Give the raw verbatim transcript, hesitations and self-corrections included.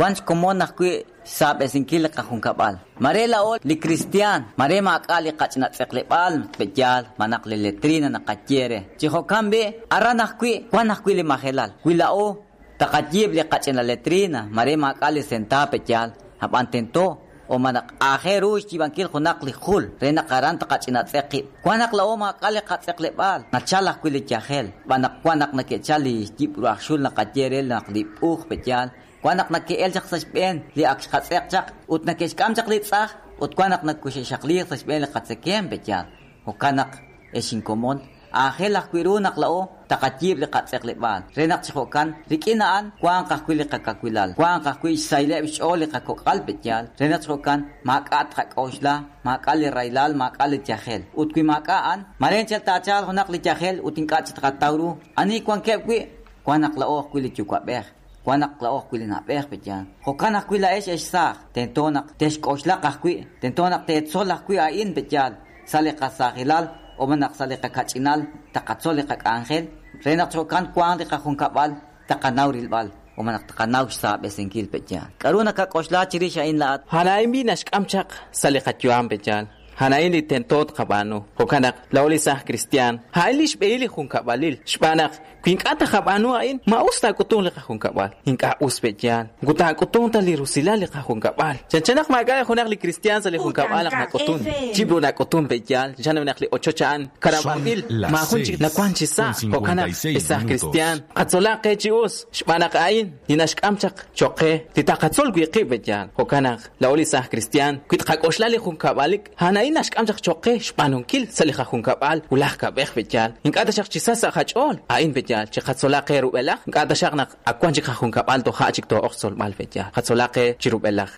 Wank xkomon ajwi' xsaab'esinkil li qajunkab'al. Mare la'o li kristiaan, mare maak'a' li qach'ina tz'eqleb'aal pe'yaal manaq li letrina naqaye re. Chi jo'kan b'i' aran ajwi' wan ajwi' li majelal. Wi la'o taqayiib' li qach'ina letrina, mare maak'a' li senta pe'yaal, ab'an tento o manaq aajel ru xyiib'ankil junaq li jul re naq aran taqach'ina tz'eq qib'. Wan naq la'o maak'a' li qatz'eqleb'aal, nachal ajwi' li yajel, xb'aan naq wan naq nake'chal li yib' ru aj xul naqaye re naq li b'uuj pe'yaal, wan naq nake'el chaq sa' xb'een li ak xqatz'eq chaq ut nake'xk'am chaq li tz'aj ut wan naq nakuxe'xaqliiq sa' xb'een li qatzekeem pe'yaal. Jo'kan naq ex inkomon, aajel ajwi' ru naq la'o taqayiib' li qatz'eqleb'aal re naq chi jo'kan rik'in a'an wanq ajwi' li qakawilal, wanq ajwi' xsayleb' xch'ool li qakok'al pe'yaal re naq chi jo'kan maak'a' tqak'oxla, maak'a' li raylal, maak'a' li yajel. Ut wi maak'a' a'an, mare chal taachal junaq li yajel ut ink'a' chi tqataw ru ani wankeb' wi' wan naq la'o ajwi' li yuwa'b'ej, wan naq la'o ajwi' li na'b'ej pe'yaal. Jo'kan ajwi' la'ex ex saaj, tento naq texk'oxlaq ajwi', tento naq teetzol ajwi' a'in pe'yaal sa' li qasaajilal o manaq sa' li qakach'inal taqatzol li qak'anjel re naq jo'kan wanq li qajunkab'al taqanaw rilb'al o manaq taqanaw xsaab'esinkil pe'yaal. K'aru nakak'oxla chirix a'in la'at? Hana'in bi naxk'am chaq sa' li qayu'am pe'yaal. Hana'in li tento tqab'aanu. Jo'kan naq la'o li saaj kristiaan. Ha'in li xb'ehil li junkab'alil. Xb'aan naq wi ink'a' taqab'aanu a'in, ma us taak'utung li qajunkab'al. Ink'a' us pe'yaal. Moko taak'utung ta li rusilal li qajunkab'al. Chanchan naq maak'a' junaq li kristiaan sa' li junkab'al naq nak'utun. Chibru nak'utun pe'yaal. Chanchan naq li ochoch a'an karab'anb'il. Son las Maajun chik seis nawan chi sa'. con Jo'kan naq cincuenta y seis li saaj minutos. kristiaan. Qatzolaq qe chi us. Xb'aan naq a'in li naxk'am chaq choq qe. Li taqatzol wi' qib' pe'yaal. Jo'kan naq la'o li saaj kristiaan. Wi tqak'oxla li junkab'alik, a'an naxk'am chaq choq qe xb'aanunkil sa' li qajunkab'al wulaj kab'ej pe'yaal. Ink'a' taxaq chi sa' sa' qach'ool. A'in pe'yaal. Chi qatzolaq qe rub'elaj. Ink'a' taxaq naq ak wan chik qajunkab'al toja' chik too'oq tzolb'al pe'yaal. Qatzolaq qe chi rub'elaj.